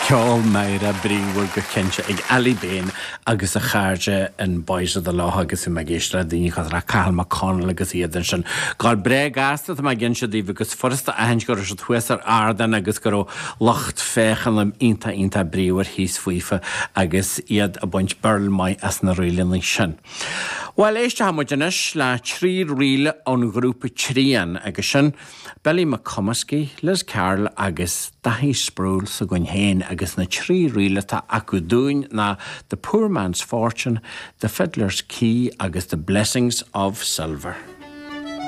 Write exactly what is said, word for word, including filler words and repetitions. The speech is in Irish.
Ceol meidhreach bríomhar go cinnte ag Ailí Bean agus a chairde in Boys of the Lough agus i géist le daoine cosúil le Cathal McConnell agus iad ansin. Gáil breá gasta tá mé ag inse daoibh agus furasta a aithint go raibh siad thuas ar ardán agus go raibh lucht féachana iontach iontach bríomhar thíos faofa agus iad ag baint burl maith as na ríleanna sin. Well éistfidh muid anois le trí ríle ón ghrúpa Trian agus sin Billy McComiskey, Liz Carroll agus Daithí Sproule s'againn féin agus na trí ríle atá acu dúinn ná The Poor Man's Fortune, The Fiddler's Key agus The Blessings of Silver.